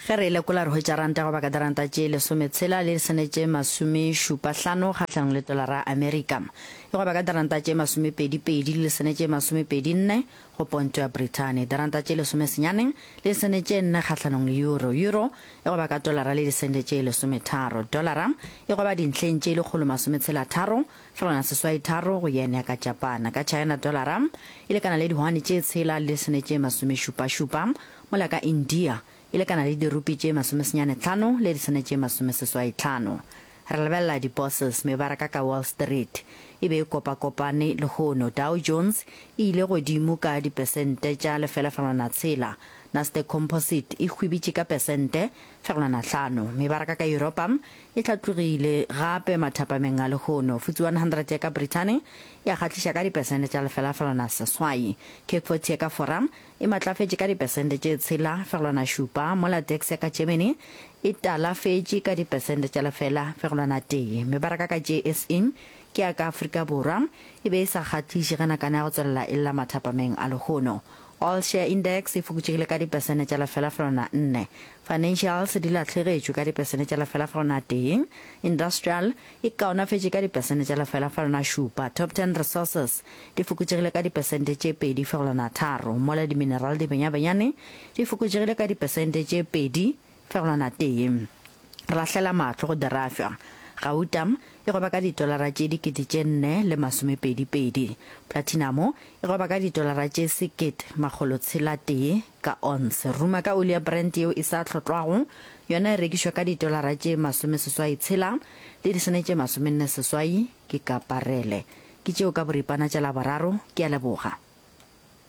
Ge re e lekola re hwetša ranta goba ka diranta tše lesometshela le disene tše masomešupahlano kgahlanong le tolara ya Amerika. E goba ka diranta tše masomepedipedi le disene tše masomepedinne go ponto ya Brithani. Diranta tše lesomesenyane le disene tše nne kgahlanong le euro. Euro e goba ka tolara le disente tše lesometharo. Dolara e goba dintlheng tše lekgolomasometshelatharo fegelwana seswaitharo go yen ya ka Japana. Ka China dolara e lekana le dihwane tše tshela le disene tše masomešupašupa mola ka India e lekana le dirupi tše masomesenyanetlhano le disene tše masomeseswaitlhano. Re lebelela di-bourses, mebaraka ka Wall Street e be e kopakopane lehono. Dow Jones e ile godimo ka dipesente tša lefela-fegelwana tshela, Nasdaq Composite e hwibitše ka pesente fegelwana hlano. Mebaraka ka Yuropa e hlatlogile gape mathapameng a lehono. FTSE 100 ya ka Brithani ya kgahliša ka dipesente tša lefela-fegelwana seswai. CAC 40 ya ka Fora e matlafetše ka dipesente tše 6,7, mola DAX ya ka Germany e talafetše ka dipesente tša 0,1. Mebaraka ka JSE ke ya ka Afrika Borwa e be e sa kgahliše ge nakana ya go tswelela e lla mathapameng a lehono. All Share Index e fokotšegile ka dipesente tša 0,4. Financials di lahlegetšwe ka dipesente tša 0,1. Industrial e kaonafetše ka dipesente tša 0,7. Top Ten Resources di fokotšegile ka dipesente tše 2,3, mola dimineral di benyabenyane di fokotšegile ka dipesente tše 2,1. Re lahlela mahlo go dirafša. Gauta e gweba ka ditolara tše dikete tše nne le masomepedipedi. Platinamo e gweba ka ditolara tše sekete makgolo tshela tee ka onse. Ruma ka oli ya Brent yeo e sa hlotlwago yona e rekišwa ka ditolara tše masomeseswai tshela le disene tše masomenne seswai ke ka parele. Ke tšeo ka boripana tša Laboraro. Ke a leboga.